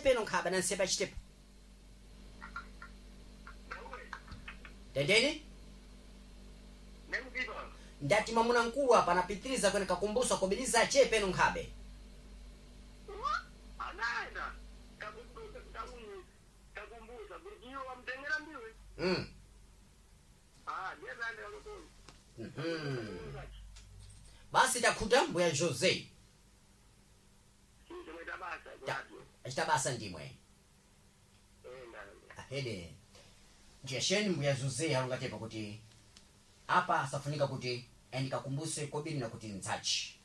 Peno nkhaba na nsepa chitepo. Tendeni? Ndati mwamuna mkulu apa anapitiriza kwene kakumbusa kobiriza che peno nkhabe. Anaenda kakumbusa kuti iwo wamtengera mbiwe. Ah, ndiye kaendera kutolo. Basi takhuta mbuya Jose. Chimweta basa. Achita basa ndimwe. Ahede. Jesheni mbuya Jose alongatepa kuti apa asafunika kuti andikakumbuse kobiri na kuti ntsachi.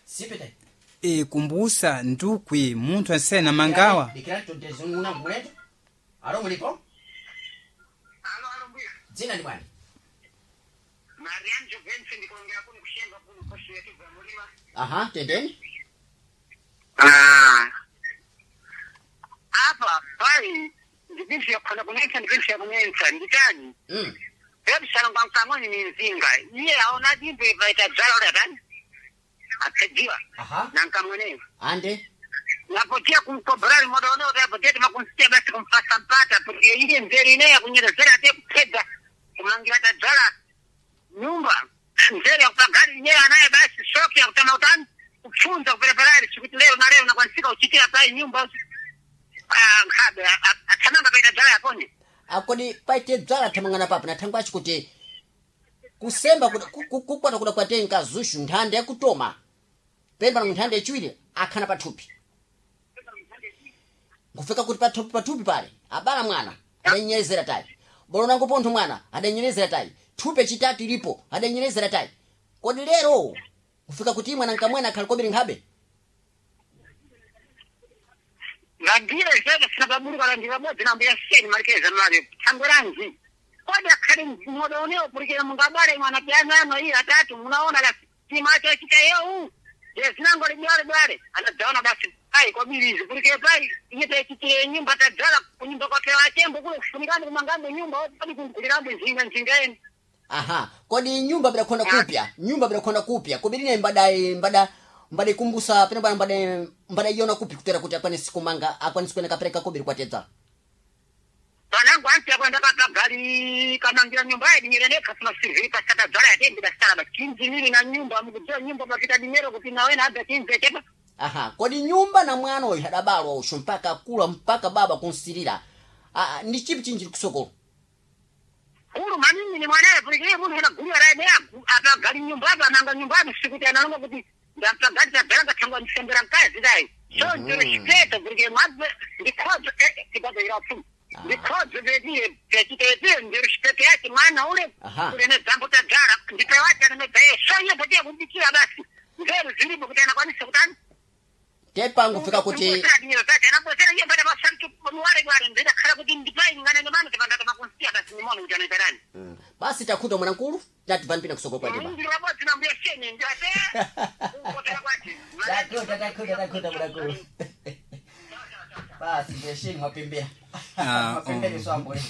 Sipite. E, kumbusa ndukwi munthu ansena mangawa. Dikirani tontezunguna mulendo. Alo mulipo? Alo, alo mbuya. Dzina ndi bwani? Marian Jovensi ndikuongea kuno kushenga kuno koshiyetu za mulima. Aha, tendeni. Ah. Apa pai ndipinsi yakhona kunensa ndipinsi yakunensa nditani. Ebisala ngamkamweni ni nzinga. Iye aona dimbe paita dzala ule atani. Akajiwa. Aha. Na nkamweneyo. Ande. Napotia kumkobrali moda one ute apotia timakunsitia basi kumfasa mpata porque iye nzeri ineya kunyerezera ate kupedza kumangira tadzala nyumba nzeri yakupagari ineyo anaye basi shoki yakutama utani kupfunza kupereperari chikuti lero na lero nakwanisika uchitira pai nyumba ah, nkhabe athamanga paita dzala yapone. Akodi paite dzala thamangana papo na thangwa achi kuti kusemba kukwata kuda kwatenga zushu nthanda yakutoma pemba na nthanda yachiwiri akhana pathupi nkufika kuti pathupi pathupi pale abala mwana adanyerezera tayi bolonango pontho mwana adanyerezera tayi thupi chitatu ilipo adanyerezera tayi kodi lero kufika kuti mwana nkamwana akhali kobiri nkhabe. Ngandire zeke sinababuruka landira bodzi nambuya seni malikeza mali thangwe ranji kodi akhali moda unewo pulikira mungabale mwana piano iyi atatu munaona la timacho chita yeu jezinango libwale bwale anadzaona basi pai kwabirizi pulikire pai iye taichitire nyumba tadzala kunyumba kwake wachembo kule kufunikani kumangambo nyumba kodi kugulirambo nzinga nzinga eni. Aha, kodi nyumba bidakhona kupya, nyumba bidakhona kupya kobiri mbadai mbada mbada ikumbusa pena bwana mbada mbada iona kupi kutera kuti akwanisi kumanga akwanisi kuenda kapereka kobiri kwatedza. Panangu anti akwenda kapagali kamangira nyumba ya dinyere nekha sima siviri pasata dzala yatendi basala basi kinzi na nyumba mukudziwa nyumba pakita dinyero kuti nawe na abda kinzi chepa. Aha, kodi nyumba na mwana uyu adabalwa ushu mpaka akula mpaka baba kunsilira. Ah, ndi chipi chinji kusokolo? Kulu manini ni mwanaye pulikire munthu anagulira raye ne apagali nyumba apa ananga nyumba apa sikuti analonga kuti ndapagali tadzala ngathangwa ndisembera mkazi dai. So ndiro chipeto pulikire mwadze ndikhodzo tibadza pfumu. Ndikhodzo petiye petitepiye ndiro chipeto yake mwana ule. Aha. Ule ne dzambo tadzala ndipewache anamedzaye so iye potiye kudikira basi. Nzeru zilipo kuti anakwanisa kutani. Tepangu fika kuti Basi takhuta mwanamkulu tati vanipina kusokolo kwa ndima. Takhuta takhuta takhuta mwanamkulu. Basi ndeshini mwapembea. Ah, Mwapembereswa mbwe.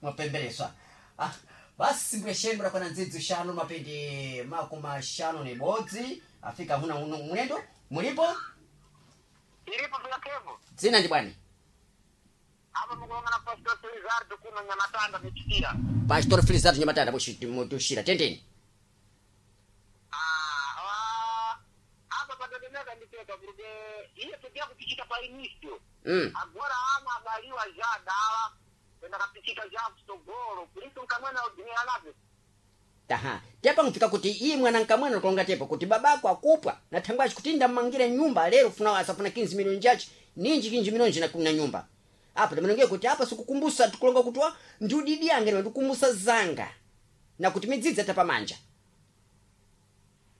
Mwapembereswa. Ah, basi mbwesheni mrakwana ndzidzi shanu mapindi makumi shanu ni bodzi afika huna mulendo mulipo Ilipo vyakevo dzina ndi bwani apa mukulongana Pastor Felizardo kuno Nyamatanda michitira. Pastor Felizardo Nyamatanda mutushira tendeni. Ah, apa patatemeka nditeka kuti iye tutia kupichita pa inisio. Agora ana abaliwa ja dala enda kapichita ja kusogolo kulitu nkamwena udinira nape. Aha, tepa nkufika kuti iyi mwana nkamwana kulonga tepa kuti babako akupwa na thangwachi kuti ndammangire nyumba lero funa asafuna 15 milioni chachi ninji 15 milioni na kuna nyumba apa tamanongeye kuti apa sikukumbusa tikulonga kuti wa ndi udidi yange ndikumbusa zanga na kuti midzidzi atapamanja.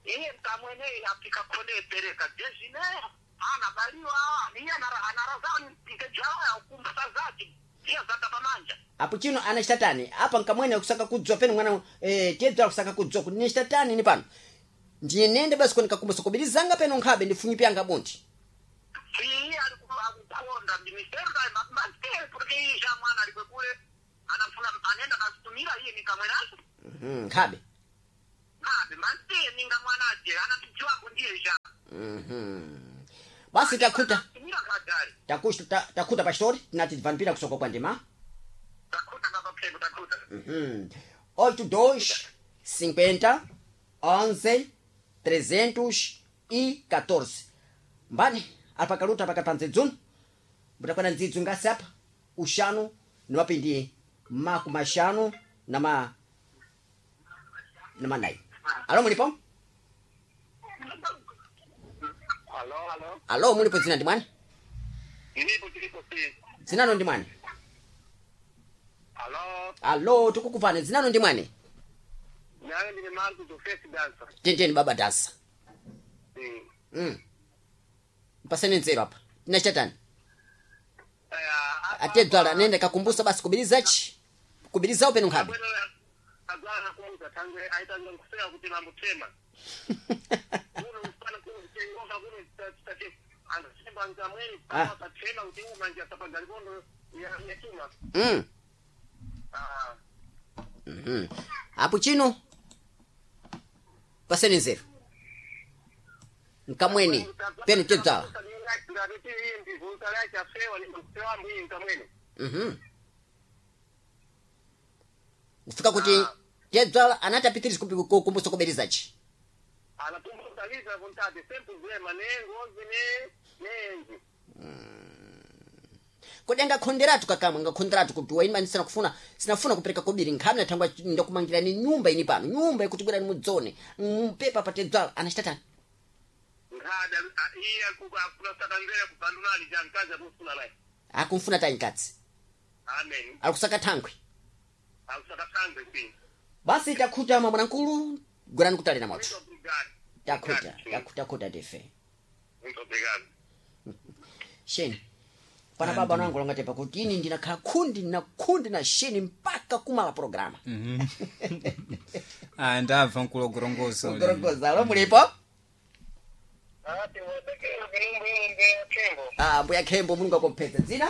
Iye nkamweneyi apika kone pereka jezine ana baliwa iye anarazani mpikejaya ukumbusa zake pia zatapamanja. Apo chino anachitatani apa nkamwene akusaka kudzwa pene mwana tedza akusaka kudzwa kuti nichitatani ni pano ndiye nende basi konikakumbusa kubiri zanga peno nkhabe ndifunyi pyanga bunti. Iye alikukonda ndimisero mante porque iye ja mwana alikwekule anafuna anenda kasitumira iye nikamwenacho. Nkhabe. Ngabe mante ninga mwanaje anatijiwako ndiye ja. Mhm. Basi takhuta Tumira kadari. takhuta pastori tinati tivanipira kusoko kwa ndima. Takhuta baba Pheko takhuta. Uhum. 82 50 11 314 mbani apakaluta pakati pa ndzidzuno mbutakwana ndzidzu ngasi apa uxanu ni mapindi makumi axanu na ma na manayi. Alo, mulipo? Alo, alo. Alo, mulipo? Dzina ndi mwani? Ndilipo tilipo si. Dzinano ndi mwani? Alo. Alo, tikukupani. Dzinano ndi mwani? Nyayo ndine Marco do First Dancer. Tendeni baba dansa. Mm. Mpaseni nzeru apa tinachatani. Eh, Atedzala nende kakumbusa basi kubirizachi kubirizawo penu nkhabe. Agwana kumuza tangwe aitanga kusema kuti mamutema. Kuno ufana kutengoka kuno tutate anasema ngamweni Ah. kama patema kuti manje atapanga likondo ya yatuma. Ah. Mhm. Apo chino paseni nzeru nkamweni penu tedzala. Mhm. Kufika kuti tedzala anati apitirize kukumbusa kubirizachi. Anatumbuka vontade sempre problema ne ngozi ne nenzi. Kodi angakhonderatu kakamwe angakhonderatu kuti waima ndisina kufuna sinafuna kupereka kobiri nkhami nathangwa ndakumangira ni nyumba ini pano nyumba ikuti bwerani mudzone mpepa patedzala anachitatani. Ngada iye akunasakangera kubandunali jankazi akusuna naye. Akumfuna tayi nkatsi. Amen. Akusaka thankhwe. Akusakatangwe si. Basi takhuta mwamwanamkulu gwirani kutali na moto. Muito obrigado. Takhuta takhuta tife. Muito obrigado. Sheni pana baba nangu longatepa kuti ini ndinakhala khundi na khundi na sheni mpaka kumala programa. Ah, ndabva nkulogorongoza ule. Kugorongoza. Alo, mulipo? Ati wabekelo kinumbu ya kembo. Ah, mbuya khembo mulungu akomphetsa dzina.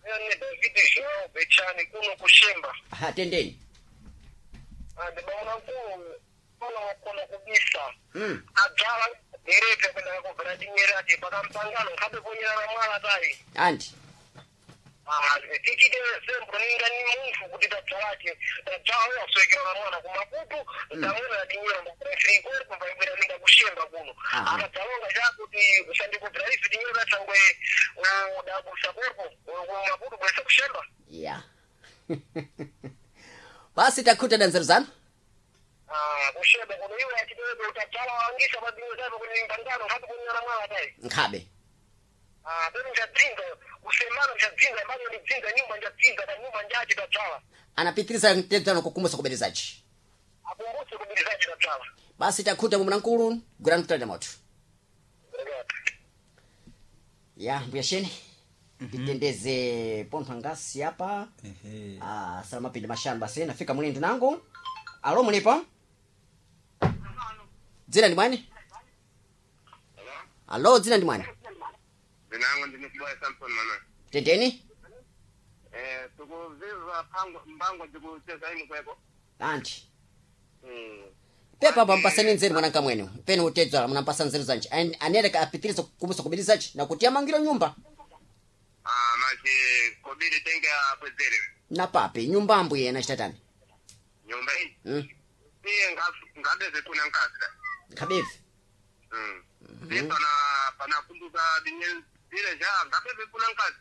Ni David João Bechani kuno kushemba. Aha, tendeni. Ndibaona nkulu kuno kuno kubisa. Mm. Adzala dereka kwenda kubvira tinyerati pakampangano nkhabe kunyerana mwala tayi. Anti. Ah, tichite sembo ninga ni munthu kuti tadzalati tadzala waswekera mwana kumaputu ndamwena tinyera ndakufirikori kubva ibwera ninga kushemba kuno. Aha. Akadzalonga chakuti usandikubvira ife tinyera tsangwe udabusa korpo kumaputu bwesa kushemba. Ya. Basi takhuta na nzeru zanu. Ah, kushemba kuno iwe achitebe utadzala wangisa padinyo zako kuti mpangano nkhabe kunyera mwala tayi. Nkhabe. Ah, peno njadzinga kusemana njadzinga mbali ndidzinga nyumba njadzinga pa nyumba njachi tadzala. Anapitiriza tedzano kukumbusa kubirizachi. Akumbutse kubirizachi tadzala. Basi takhuta mwamwanamkulu gwirani kutali na moto. Ya mbuya sheni. Titendeze pontho angasi apa. Ehe. Ah, sala mapindi mashanu basi nafika mulindi nangu. Alo, mulipo? Dzina ndi mwani? Alo, dzina ndi mwani? Ndinango ndinokubaya Samson mana. Tendeni? Eh, tukuviva pango mbango ndikucheza imi kweko. Anti. Mm. Pepa apa mpasani nzeru mwananga mwene. Penu utedzala munampasa nzeru zanji. Anereka apitirize kukumbusa kubirizachi na kuti amangiro nyumba. Ah, manje kobiri tenge akwezere. Na papi nyumba ambuye na chitatani. Nyumba iyi. Mm. Iye ngabeze kuna nkasa. Khabevi. Mm. Mm. Pana pana kumbuka dinye dire ja ngabeze kuna nkasa.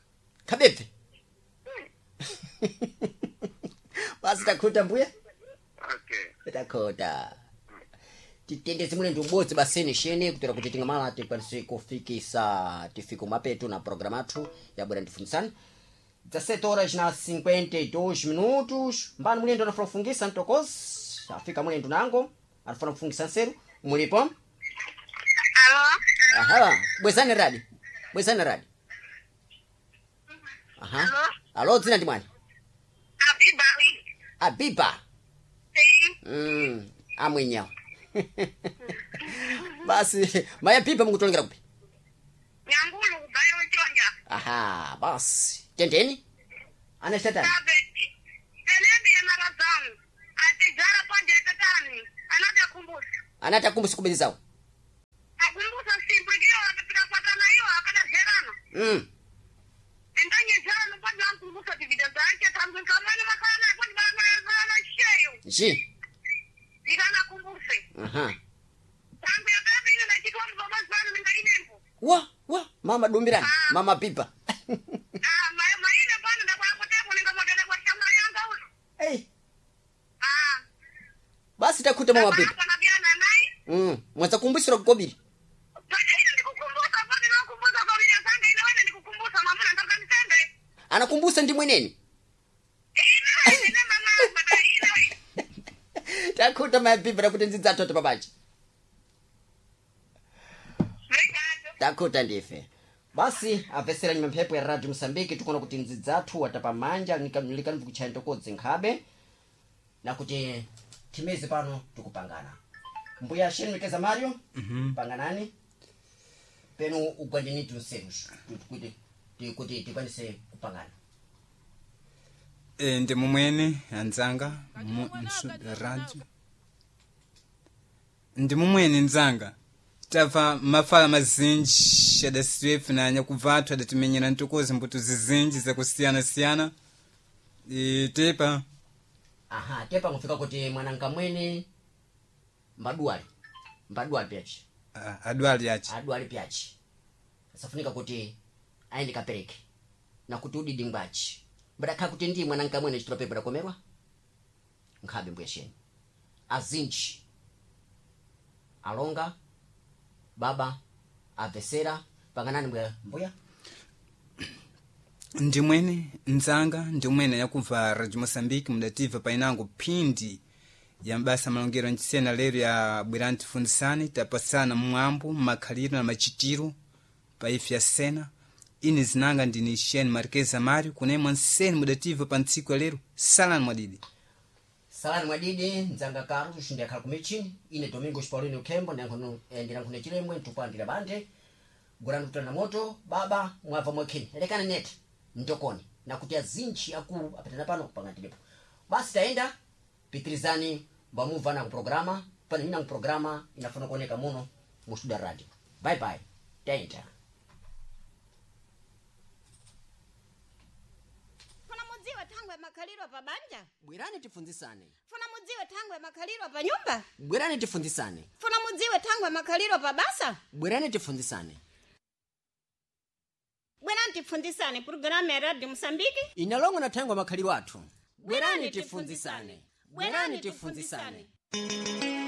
Khabevi. Mm. Basi takhuta mbuya. Okay. Takhuta. Titendeze mule ndi ubodzi baseni sheni kutera kuti tingamala tikwanise kufikisa tifike mapeto na programa athu yabwera ndifunisani. 17 horas na 52 minutos. Mbani mulendo anafuna kufungisa mtokozi afika mulendo nango anafuna kufungisa nseru mulipo? Alo? Aha, bwezani radi bwezani radi. Aha. Alo, dzina ndi mwani? Abibawi. Abiba. Sim. Amwenyawo. Basi maya pipa mukutolengera kupi? Nyangulu kubayo chonja. Aha, basi tendeni anachitatani. Sabeti. Zelemi ya marazamu. Atijara ponde tatani. Anatakumbusa. Anati akumbusa kubirizawo. Mm. Ndanyezana kwanza nkumbusa tivida zake tangu nkamwana makana kwani bana bana sheyo. Ji. Ndikana kumbuse. Aha. Tangu ya baba ino nachitwa mbaba zanu ndingayinembo. Wa wa mama dumbirani mama pipa. Ah, maine pano ndakwakutepo ningamodana kwa shamba yanga uno. Hey. Ah, Basi takuta mama pipa. hapa na vyana naye. Mm. Mwaza kumbusira kukobiri. Pata ino ndikukumbusa pano nakumbusa kwa bila zanga ino wena ndikukumbusa mama nataka nisende. Anakumbusa ndi mweneni. Ina ina mama mama ina. Takuta mama pipa takuti nzidzatoto pabachi. Obrigado. Takuta ndife. Basi apesera nyuma mphepo ya Radio Msambiki tikuona kuti nzidzathu watapamanja likanvu kuchaya ntokodzi nkhabe na kuti timezi pano tikupangana. Mbuya sheni mikeza Mario. Panganani. Penu ugwandini tunseru kuti kuti tikwanise kupangana. E, ndi mumwene anzanga radio ndi mumwene nzanga tabva mafala mazinji adasiwefe na nyakuvathu adatimenyera ntokozi mbuto zizinji zakusiyana-siyana. E, tepa Aha, tepa ngufika kuti mwanankamwene mbaduwali. Mbaduwali pyachi. ah, adwali achi Adwali pyachi. Asafunika kuti aende kapereke. Na kuti udidi ngwachi. Mbadakha kuti ndi mwanankamwene chitula pepa dakomerwa. Nkhabe mbuya sheni. Azinji. Alonga. Baba. Avesera. Panganani mbuya. Mbuya. Ndimwene nzanga ndimwene yakubva radio Moçambique mudativa painango phindi ya mbasa malongero ncisena lero ya bwerani tifundisane tapasana mwambo makhaliro na machitiro pa ife ya sena. Ine zinanga ndini Shen Marquez Amaro kunemwa nseni mudativa pa ntsiku ya lero. Salani mwadidi. Salani mwadidi nzanga Carlos ndiyakhala kumichini ine Domingos Paulino Khembo ndilankhune chilemwe ntukwandira bante gurani kutana moto baba mwabva mwakheni lekani nete ntokoni nakuti azinji akulu apatana pano kupanga tilipo basi taenda pitirizani mbamubva na kuprograma pano ina kuprograma inafuna kuoneka muno mu studio radio. Bye bye, taenda. Funa mudziwe thangwe makhaliro pa banja. Bwerani tifunzisane. Funa mudziwe thangwe makhaliro pa nyumba. Bwerani tifunzisane. Funa mudziwe thangwe makhaliro pa basa. Bwerani tifunzisane. Bwerani tipfunzisane programu ya Radio Mosambiki. Inalongo na thangwe makhaliro athu. Bwerani tifunzisane. Bwerani tifunzisane.